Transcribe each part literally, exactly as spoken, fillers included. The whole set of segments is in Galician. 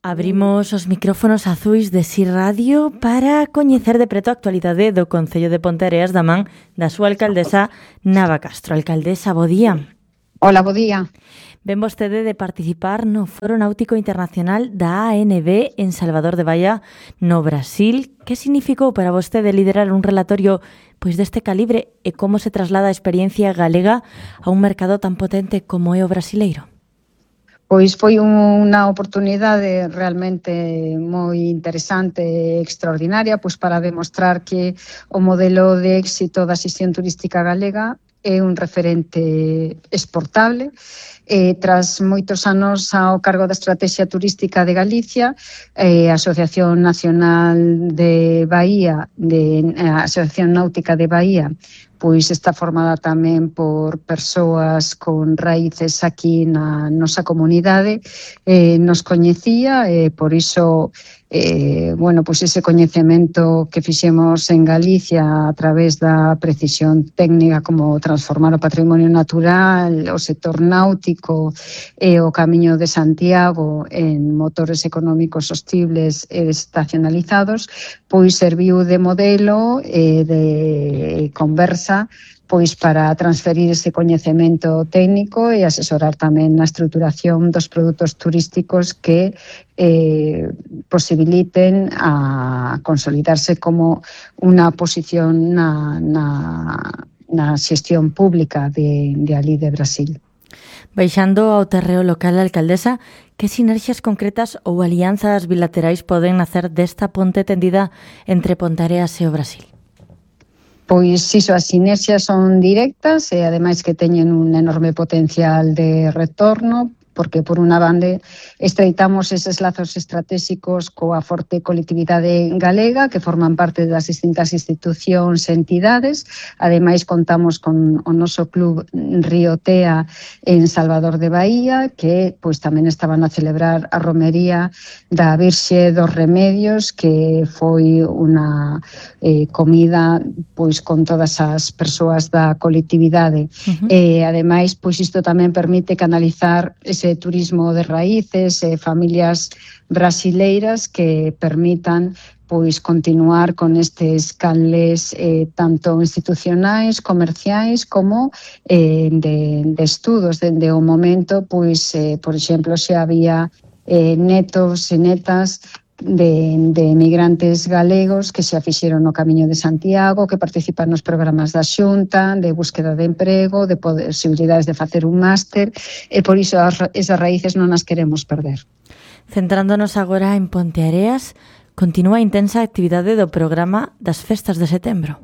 Abrimos os micrófonos azuis de Si Radio para coñecer de preto a actualidade do Concello de Ponteareas da man da súa alcaldesa Nava Castro. Alcaldesa, bo día. Hola, bo día. Ven vostede de participar no Foro Náutico Internacional da A N B en Salvador de Bahía, no Brasil. Que significou para vostede liderar un relatorio pois deste calibre e como se traslada a experiencia galega a un mercado tan potente como é o brasileiro? Pois foi unha oportunidade realmente moi interesante e extraordinaria pois para demostrar que o modelo de éxito da xestión turística galega é un referente exportable. Eh, tras moitos anos ao cargo da Estrategia Turística de Galicia, eh, a Asociación Nacional de Bahía, de, a Asociación Náutica de Bahía, pois está formada tamén por persoas con raíces aquí na nosa comunidade, eh, nos coñecía e por iso eh, bueno, pois ese coñecemento que fixemos en Galicia a través da precisión técnica como transformar o patrimonio natural, o sector náutico e o Camiño de Santiago en motores económicos sostibles e estacionalizados, pois serviu de modelo e de conversa pois para transferir ese coñecemento técnico e asesorar tamén na estruturación dos produtos turísticos que eh, posibiliten a consolidarse como unha posición na, na, na xestión pública de, de ali de Brasil. Baixando ao terreo local, alcaldesa, que sinerxias concretas ou alianzas bilaterais poden nacer desta ponte tendida entre Ponteareas e o Brasil? Pois iso, as sinerxias son directas e ademais que teñen un enorme potencial de retorno, porque por unha bande estreitamos eses lazos estratégicos coa forte colectividade galega que forman parte das distintas institucións e entidades. Ademais contamos con o noso club Riotea en Salvador de Bahía, que pois tamén estaban a celebrar a romería da Virxe dos Remedios, que foi unha eh, comida pois con todas as persoas da colectividade. Uh-huh. E ademais pois isto tamén permite canalizar ese turismo de raíces e familias brasileiras que permitan pois continuar con estes canles eh, tanto institucionais, comerciais como eh, de, de estudos. Dende o momento, pois, eh, por exemplo, se había eh, netos e netas de, de emigrantes galegos que xa fixeron o Camiño de Santiago, que participan nos programas da Xunta, de búsqueda de emprego, de posibilidades de facer un máster, e por iso as, esas raíces non as queremos perder. Centrándonos agora en Ponteareas, continúa a intensa actividade do programa das festas de setembro.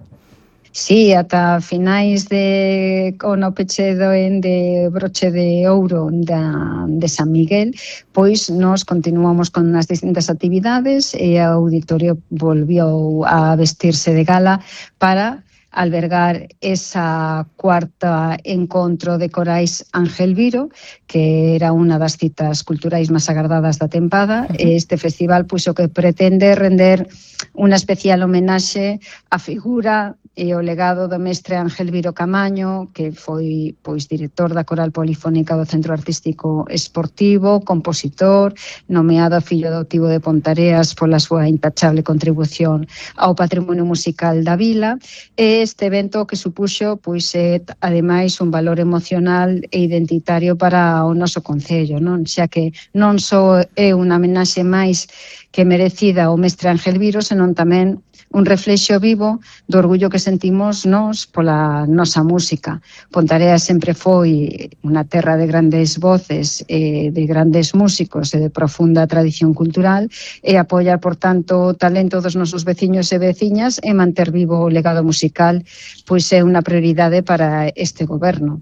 Sí, ata finais de con o peche do en de broche de ouro da, de San Miguel, pois nos continuamos con as distintas actividades e o auditorio volvió a vestirse de gala para albergar esa cuarta encontro de corais Ángel Viro, que era unha das citas culturais máis agardadas da tempada. Uh-huh. Este festival pois o que pretende render unha especial homenaxe á figura e o legado do mestre Ángel Viro Camaño, que foi pois director da Coral Polifónica do Centro Artístico Esportivo, compositor, nomeado fillo adoptivo de Ponteareas pola súa intachable contribución ao patrimonio musical da vila. E este evento que supuxo pois é ademais un valor emocional e identitario para o noso concello, non? Xa que non só é unha homenaxe máis que merecida ao mestre Ángel Viro, senón tamén un reflexo vivo do orgullo que sentimos nós pola nosa música. Ponteareas sempre foi unha terra de grandes voces, eh, de grandes músicos e de profunda tradición cultural, e apoiar, por tanto, o talento dos nosos veciños e veciñas e manter vivo o legado musical, pois é unha prioridade para este goberno.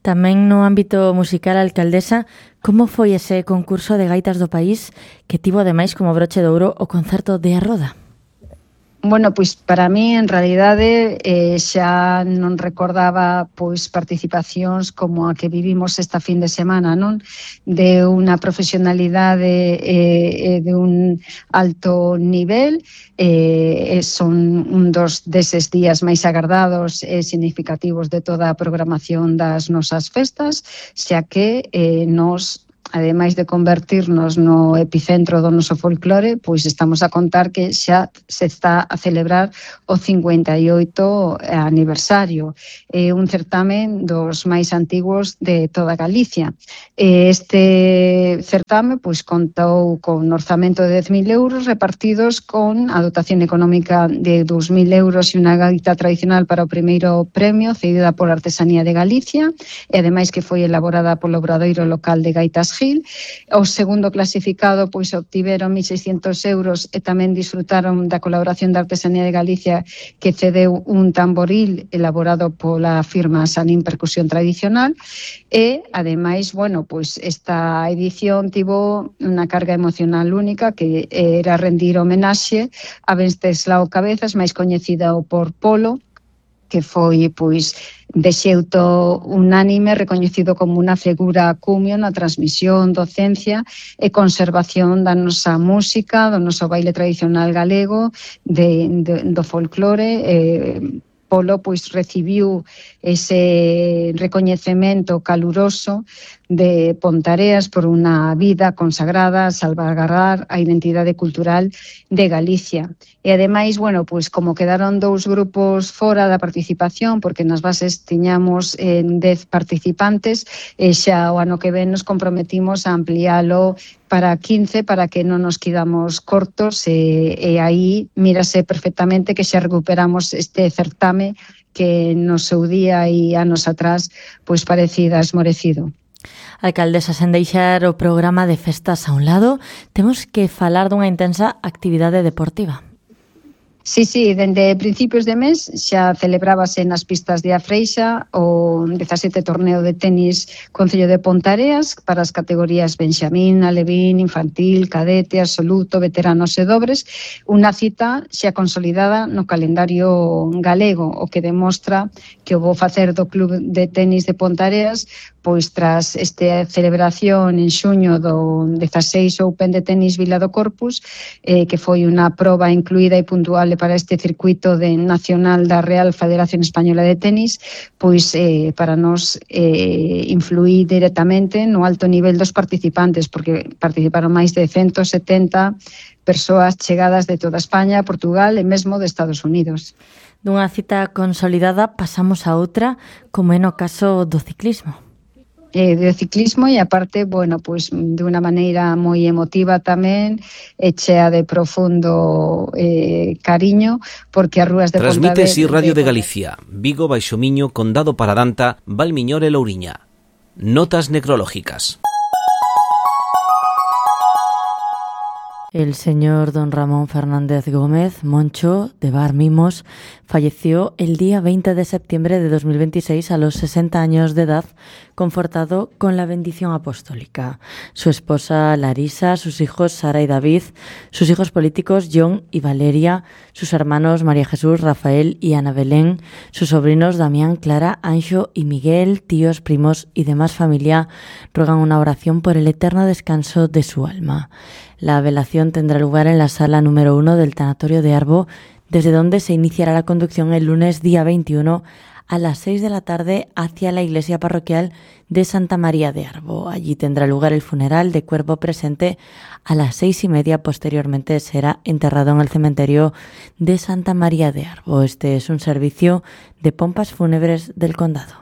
Tamén no ámbito musical, alcaldesa, como foi ese concurso de gaitas do país que tivo ademais como broche de ouro o concerto de A Roda? Bueno, pois para mí, en realidade, eh, xa non recordaba pois participacións como a que vivimos esta fin de semana, non? De unha profesionalidade e eh, de un alto nivel, eh, son un dos deses días máis agardados e significativos de toda a programación das nosas festas, xa que eh, nos ademais de convertirnos no epicentro do noso folclore, pois estamos a contar que xa se está a celebrar o cincuenta e oito aniversario. É un certamen dos máis antigos de toda Galicia. Este certame pois contou con un orzamento de dez mil euros repartidos con a dotación económica de dous mil euros e unha gaita tradicional para o primeiro premio cedida por Artesanía de Galicia e ademais que foi elaborada polo Obradoiro Local de Gaitas Gil. O segundo clasificado pois obtiveron mil seiscentos euros e tamén disfrutaron da colaboración da Artesanía de Galicia que cedeu un tamboril elaborado pola firma Sanín Percusión Tradicional e ademais, bueno, pois esta edición tivo unha carga emocional única que era rendir homenaxe a Venceslao Cabezas, máis coñecida por Polo, que foi pois de xeito unánime recoñecido como unha figura cumio na transmisión, docencia e conservación da nosa música, do noso baile tradicional galego, de, de, do folclore. eh, Polo pois recibiu ese recoñecemento caluroso de Pontareas por unha vida consagrada a salvaguardar a identidade cultural de Galicia. E ademais, bueno, pois como quedaron dous grupos fora da participación, porque nas bases tiñamos eh, dez participantes, e xa o ano que ven nos comprometimos a ampliálo para quince, para que non nos quedamos cortos, e, e aí mírase perfectamente que xa recuperamos este certame que no seu día e anos atrás pois parecida esmorecido. Alcaldesa, sen deixar o programa de festas a un lado, temos que falar dunha intensa actividade deportiva. Sí, sí, dende principios de mes xa celebrábase nas pistas de Afreixa o dezasete torneo de tenis Concello de Pontareas para as categorías Benxamín, Alevín, Infantil, Cadete, Absoluto, Veteranos e Dobres, unha cita xa consolidada no calendario galego, o que demostra que o bo facer do Club de Tenis de Pontareas pois tras esta celebración en xuño do dezaseis Open de Tenis Vila do Corpus, eh, que foi unha proba incluída e puntual para este circuito de nacional da Real Federación Española de Tenis, pois eh, para nos eh, influir directamente no alto nivel dos participantes, porque participaron máis de ciento setenta persoas chegadas de toda España, Portugal e mesmo de Estados Unidos. Dunha cita consolidada pasamos a outra, como é no caso do ciclismo. Eh, de ciclismo e aparte, bueno, pois de unha maneira moi emotiva tamén, e chea de profundo eh, cariño, porque as rúas de Pontevedra... Transmite si Radio de Galicia, Vigo, Baixo Miño, Condado Paradanta, Valmiñor e Louriña. Notas necrológicas. El señor don Ramón Fernández Gómez, Moncho, de Bar Mimos, falleció el día veinte de septiembre de dos mil veintiséis a los sesenta años de edad, confortado con la bendición apostólica. Su esposa Larisa, sus hijos Sara y David, sus hijos políticos John y Valeria, sus hermanos María Jesús, Rafael y Ana Belén, sus sobrinos Damián, Clara, Anxo y Miguel, tíos, primos y demás familia ruegan una oración por el eterno descanso de su alma. La velación tendrá lugar en la sala número uno del tanatorio de Arbo, desde donde se iniciará la conducción el lunes día veintiuno a las seis de la tarde hacia la iglesia parroquial de Santa María de Arbo. Allí tendrá lugar el funeral de cuerpo presente a las seis y media. Posteriormente será enterrado en el cementerio de Santa María de Arbo. Este es un servicio de pompas fúnebres del condado.